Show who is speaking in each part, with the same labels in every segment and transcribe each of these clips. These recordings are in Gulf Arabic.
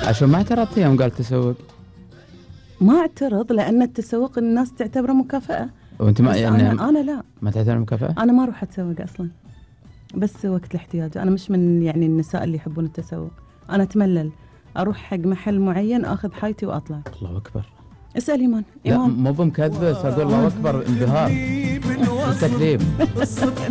Speaker 1: عشان ما اعترضت يوم قال تسوق؟
Speaker 2: ما اعترض لأن التسوق الناس تعتبره مكافأة.
Speaker 1: وانت ما يعني
Speaker 2: أنا لا،
Speaker 1: ما تعتبر مكافأة؟
Speaker 2: أنا ما أروح أتسوق أصلا، بس وقت الاحتياج. أنا مش من يعني النساء اللي يحبون التسوق. أنا أتملل أروح حق محل معين أخذ حايتي وأطلع.
Speaker 1: الله أكبر.
Speaker 2: اسأل إيمان.
Speaker 1: لا مو بمكذبة، أقول الله أكبر انبهار التكذيب.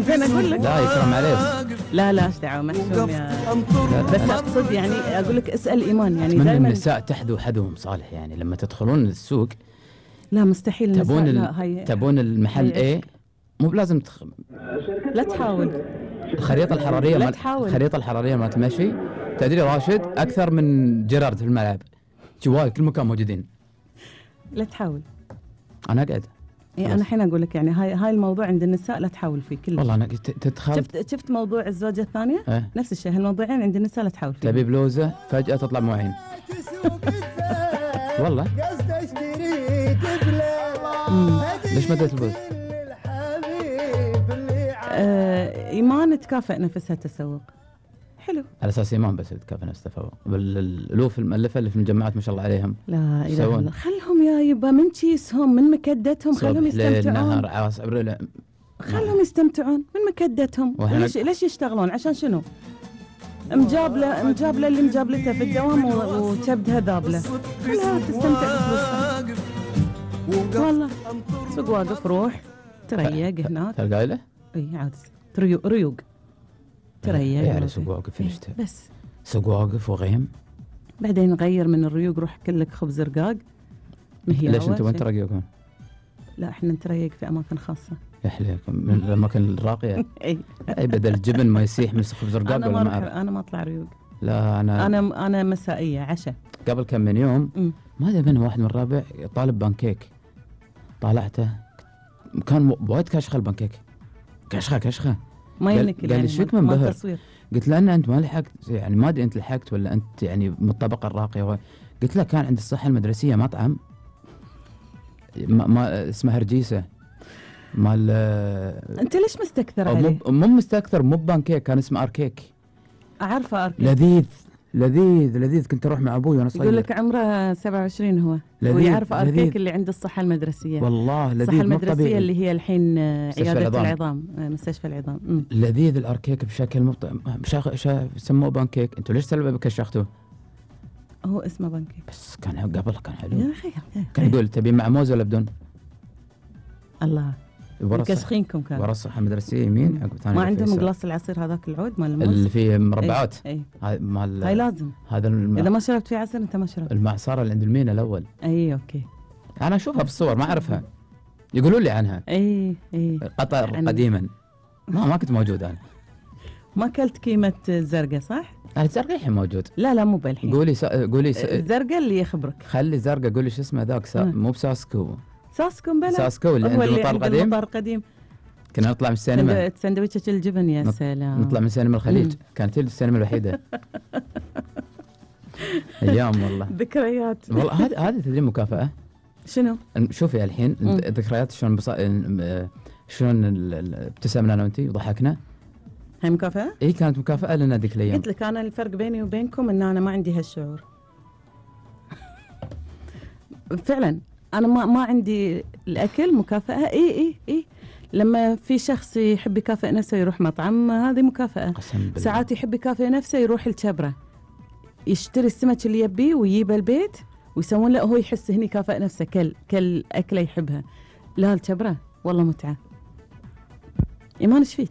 Speaker 2: أنا أقول لك
Speaker 1: لا يكرم عليك.
Speaker 2: لا إيش دعوة محشوم يا بس أقصد يعني أقول لك اسأل إيمان يعني
Speaker 1: من
Speaker 2: دائما
Speaker 1: النساء تحدو حدهم صالح يعني لما تدخلون السوق.
Speaker 2: لا مستحيل
Speaker 1: تبون المحل ايه مو بلازم
Speaker 2: لا تحاول.
Speaker 1: الخريطة الحرارية ما تمشي. تدري راشد أكثر من جيرارد في الملعب جواي كل مكان موجودين.
Speaker 2: لا تحاول.
Speaker 1: أنا أقعد.
Speaker 2: إيه أنا الحين أقول لك يعني هاي الموضوع عند النساء لا تحاول فيه كله.
Speaker 1: والله أنا تدخل.
Speaker 2: شفت موضوع الزوجة الثانية نفس الشيء. هالموضوعين عند النساء لا تحاول فيه.
Speaker 1: تبي بلوزة فجأة تطلع معين. والله. ليش ما اديت البوز؟
Speaker 2: إيمان تكافئ نفسها تسوق. حلو.
Speaker 1: على أساس إيمان بس تكافئ نفسها تسوق. بالألوف المؤلفة اللي في الجامعات ما شاء الله عليهم.
Speaker 2: لا إله إلا الله. خلهم يا يبا من كيسهم من مكدتهم. خلهم يستمتعون.
Speaker 1: ليل نهار عصر.
Speaker 2: خلهم يستمتعون من مكدتهم. ليش يشتغلون عشان شنو؟ مجابلة اللي مجابلتها في الدوام وكبدها ذابلة. خلها تستمتع بفلوسها. والله سوق واقف روح تريق هناك.
Speaker 1: تلقى له؟
Speaker 2: اي عاد ريوق تريق.
Speaker 1: يعني سوق واقف فيشته
Speaker 2: بس
Speaker 1: سوق واقف وغيم.
Speaker 2: بعدين نغير من الريوق روح كلك خبز رقاق.
Speaker 1: ليش انتم وين تريقون؟
Speaker 2: لا احنا نتريق في اماكن خاصة.
Speaker 1: يحليكم من الاماكن الراقية. اي بدل الجبن ما يسيح من خبز رقاق ولا ما اعرف.
Speaker 2: انا ما اطلع ريوق.
Speaker 1: لا
Speaker 2: انا مسائية عشاء.
Speaker 1: قبل كم من يوم ما ادري من واحد من الرابع طالب بانكيك. طالعته كان وايد كاشخه البانكيك. كاشخه ما ينكل. قال لي شوك منبهر. قلت له انت ما لحقت يعني ما ادري انت لحقت ولا انت يعني من الطبقه الراقيه. قلت له كان عند الصحه المدرسيه مطعم ما اسمه هرجيسه مال.
Speaker 2: انت ليش مستكثر عليه؟
Speaker 1: مو مستكثر مو بانكيك كان اسمه اركيك.
Speaker 2: اعرفه اركيك.
Speaker 1: لذيذ كنت اروح مع ابوي وانا صغير.
Speaker 2: يقول لك عمره 27 هو ويعرف اركيك اللي عند الصحه المدرسيه.
Speaker 1: والله لذيذ.
Speaker 2: الصحه المدرسيه اللي هي الحين عياده العظام مستشفى العظام.
Speaker 1: لذيذ الاركيك بشكل سموه بانكيك. انتوا ليش كشختوه؟
Speaker 2: هو اسمه بانكيك
Speaker 1: بس كان قبل كان حلو
Speaker 2: يا اخي.
Speaker 1: كان يقول تبي مع موز ولا بدون؟
Speaker 2: الله كشخينكم كان
Speaker 1: ورا الصحه المدرسيه يمين.
Speaker 2: ما عندهم قلاص العصير هذاك العود مال الموز
Speaker 1: اللي فيه مربعات.
Speaker 2: هاي لازم
Speaker 1: هذا
Speaker 2: اذا ما شربت فيه عصير انت ما شربت.
Speaker 1: المعصره اللي عند المينا الاول.
Speaker 2: اوكي.
Speaker 1: انا اشوفها بالصور ما اعرفها. يقولوا لي عنها. قطر قديما ما كنت موجود انا.
Speaker 2: ما اكلت كيمه الزرقاء صح؟
Speaker 1: الزرقاء الحين موجود.
Speaker 2: لا مو بالحين.
Speaker 1: قولي
Speaker 2: الزرقاء اللي يخبرك.
Speaker 1: خلي الزرقاء. قولي شو اسمه ذاك مو بساسكو
Speaker 2: بلا
Speaker 1: ساسكو اللي عند المطار
Speaker 2: القديم.
Speaker 1: كنا نطلع من السينما
Speaker 2: سندويتش الجبن يا سلام.
Speaker 1: نطلع من سينما الخليج. كانت هي السينما الوحيدة. ايام والله
Speaker 2: ذكريات.
Speaker 1: والله هذه تدري مكافأة
Speaker 2: شنو؟
Speaker 1: شوفي الحين ذكريات شلون ابتسمنا انا وانتي وضحكنا.
Speaker 2: هاي مكافأة؟
Speaker 1: اي كانت مكافأة لنا ذيك الايام.
Speaker 2: قلت لك انا الفرق بيني وبينكم ان انا ما عندي هالشعور. فعلا انا ما عندي الاكل مكافأة. اي لما في شخص يحب يكافئ نفسه يروح مطعم هذه مكافأة. ساعات يحب يكافئ نفسه يروح الشبرة يشتري السمك اللي يبيه ويجيبه البيت ويسوون له هو يحس هني كافئ نفسه كل أكلة يحبها. لا الشبرة والله متعة. إيمان إيش فيك؟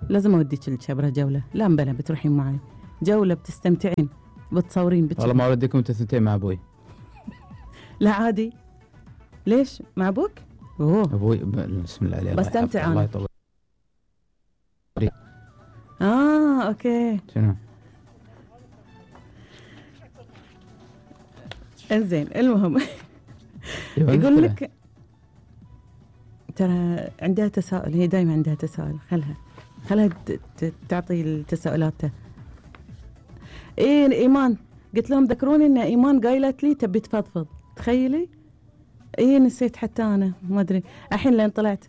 Speaker 2: لازم أوديك الشبرة جولة. لا مبلا بتروحين معي جولة بتستمتعين بتصورين
Speaker 1: والله ما أوديكم أنت ثنتين مع أبوي.
Speaker 2: لا عادي. ليش مع أبوك؟
Speaker 1: أبوي بسم الله عليه
Speaker 2: بستمتع أنا. أوكي.
Speaker 1: شنو؟
Speaker 2: انزين المهم يقول لك ترى عندها تساؤل. هي دايما عندها تساؤل. خلها تعطي التساؤلات. ايمان قلت لهم ذكروني ان ايمان قايلت لي تبي تفضفض. تخيلي نسيت حتى انا ما ادري الحين لين طلعت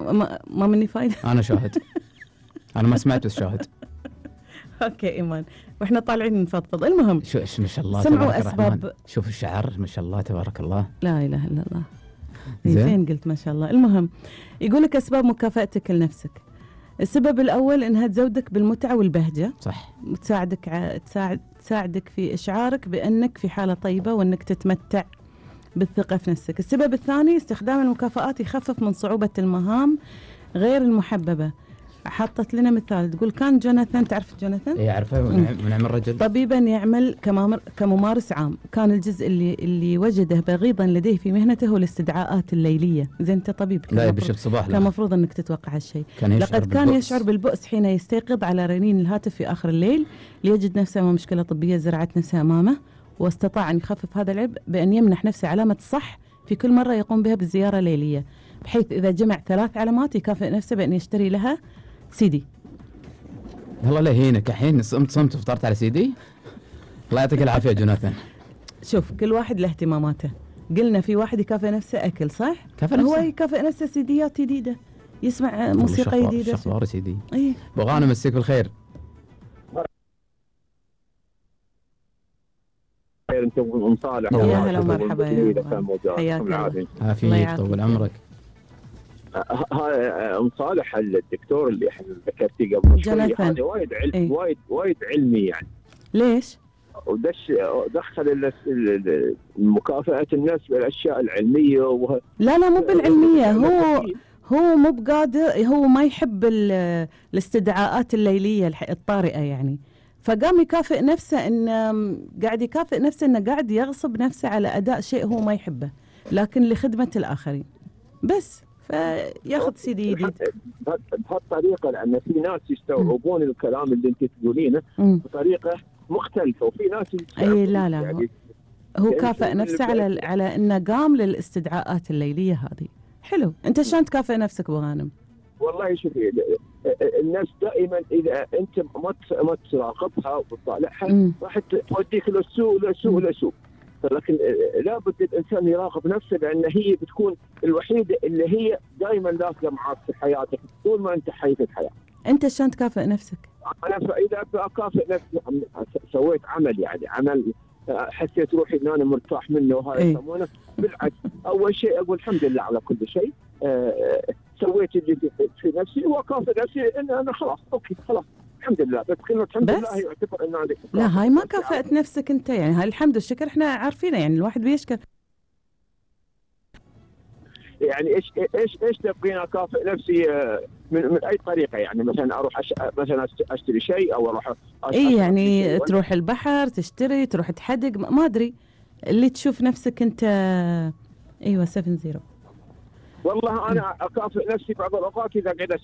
Speaker 2: ما مني فايده.
Speaker 1: انا شاهد. انا ما سمعت بس شاهد.
Speaker 2: اوكي ايمان، واحنا طالعين نفضفض. المهم
Speaker 1: شو ما شاء الله
Speaker 2: سمعوا اسباب.
Speaker 1: شوف الشعر ما شاء الله تبارك الله،
Speaker 2: لا اله الا الله. زين قلت ما شاء الله. المهم يقول لك اسباب مكافأتك لنفسك. السبب الاول انها تزودك بالمتعه والبهجه،
Speaker 1: صح،
Speaker 2: تساعدك في اشعارك بانك في حاله طيبه وانك تتمتع بالثقه في نفسك. السبب الثاني استخدام المكافآت يخفف من صعوبه المهام غير المحببه. حطت لنا مثال تقول كان جوناثان، تعرف جوناثان؟
Speaker 1: اي اعرفه، ونعم الرجل،
Speaker 2: طبيبا يعمل كممارس عام. كان الجزء اللي وجده بغيضا لديه في مهنته هو الاستدعاءات الليليه. زين انت طبيب،
Speaker 1: لا يبشر صباح،
Speaker 2: كان المفروض انك تتوقع هالشيء. لقد كان يشعر بالبؤس حين يستيقظ على رنين الهاتف في اخر الليل ليجد نفسه امام مشكله طبيه زرعت نفسها امامه، واستطاع ان يخفف هذا العبء بان يمنح نفسه علامه الصح في كل مره يقوم بها بالزياره الليليه، بحيث اذا جمع 3 علامات يكافئ نفسه بان يشتري لها سيدي.
Speaker 1: الله لا يهينك، الحين صمت وفطرت على سيدي. الله يعطيك العافيه يا جوناثان.
Speaker 2: شوف كل واحد له اهتماماته. قلنا في واحد يكافئ نفسه اكل، صح؟ هو يكافئ نفسه سيديات جديده، يسمع موسيقى جديده.
Speaker 1: شخبار سيدي.
Speaker 2: اي
Speaker 1: بغانا مسيك بالخير.
Speaker 3: انت ام صالح.
Speaker 2: يا هلا ومرحبا، حياك الله.
Speaker 1: عافيك طول عمرك.
Speaker 3: ام صالح الدكتور اللي احنا ذكرتيه قبل شوي هذا وايد علمي يعني.
Speaker 2: ليش؟
Speaker 3: دخل مكافأة الناس بالاشياء العلميه
Speaker 2: لا مو بالعلميه. هو مو بقادر، هو ما يحب الاستدعاءات الليليه الطارئه يعني، فقام يكافئ نفسه قاعد يكافئ نفسه انه قاعد يغصب نفسه على اداء شيء هو ما يحبه لكن لخدمه الاخرين بس، فياخذ سيدي جديد
Speaker 3: بهالطريقه. لان في ناس يستوعبون الكلام اللي انت تقولينه بطريقه مختلفه، وفي ناس
Speaker 2: اي لا يعني هو كافئ نفسه على انه قام للاستدعاءات الليليه هذه. حلو. انت شلون تكافئ نفسك ابو غانم؟
Speaker 3: والله شوفي، الناس دائما اذا انت ما تراقبها وتطالعها راح توديك للسوء. لكن لابد الانسان يراقب نفسه، لان هي بتكون الوحيده اللي هي دائما لازقه معك في حياتك طول ما انت حي في الحياه.
Speaker 2: انت شلون تكافئ نفسك؟
Speaker 3: انا اذا اكافئ نفسي سويت عمل حسيت روحي ان انا مرتاح منه وهذا يسمونه بالعكس. اول شيء اقول الحمد لله على كل شيء، سويت اللي في نفسي واكافئ نفسي ان انا خلاص اوكي خلاص الحمد لله. بس كلمه الحمد لله يعتبر ان هذه
Speaker 2: لا، هاي ما كافأت نفسك انت يعني. هاي الحمد والشكر احنا عارفينه يعني، الواحد بيشكر.
Speaker 3: يعني ايش تبغين اكافئ نفسي من اي طريقه يعني؟ مثلا اروح مثلا اشتري شيء او اروح
Speaker 2: يعني تروح البحر تشتري، تروح تحدق، ما ادري اللي تشوف نفسك انت. ايوه 70.
Speaker 3: والله انا اكافئ نفسي بعض الاوقات اذا قاعد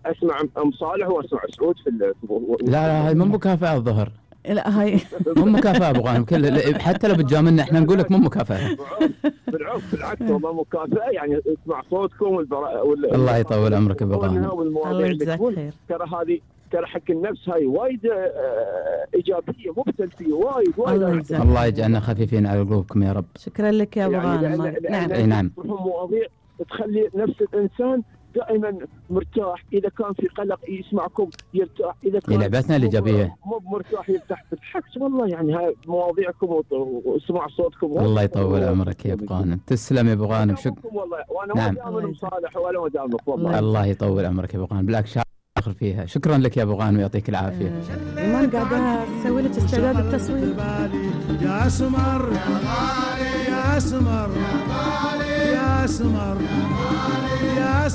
Speaker 3: اسمع ام صالح واسمع سعود في
Speaker 1: لا هاي مو مكافأة الظهر.
Speaker 2: لا هاي
Speaker 1: مو مكافأة ابو غانم، حتى لو بتجاملنا احنا نقول لك مو مكافأة.
Speaker 3: بالعكس والله مكافأة يعني اسمع صوتكم
Speaker 1: الله يطول عمرك ابو غانم.
Speaker 2: الله يجزاك خير.
Speaker 3: ترى حق النفس هاي وايد ايجابيه مو بسلبيه، وايد
Speaker 1: الله يجعلنا خفيفين على قلوبكم يا رب.
Speaker 2: شكرا لك يا ابو غانم.
Speaker 3: نعم مواضيع تخلي نفس الانسان دائما مرتاح. اذا كان في قلق يسمعكم يرتاح، اذا كان
Speaker 1: لعبتنا الايجابيه
Speaker 3: مو مرتاح يرتاح. بالعكس والله يعني هاي مواضيعكم وسمع صوتكم.
Speaker 1: الله يطول عمرك يا ابو غانم. تسلم يا ابو غانم. شكرا
Speaker 3: والله. وانا مدام صالح ولا مدامك والله.
Speaker 1: الله يطول عمرك يا ابو غانم، بالعكس اخر فيها. شكرا لك يا ابو غانم ويعطيك العافيه.
Speaker 2: ايمان قاعده تسوي لك استعداد التصوير.
Speaker 4: يا سمر يا سمر يا سمر يا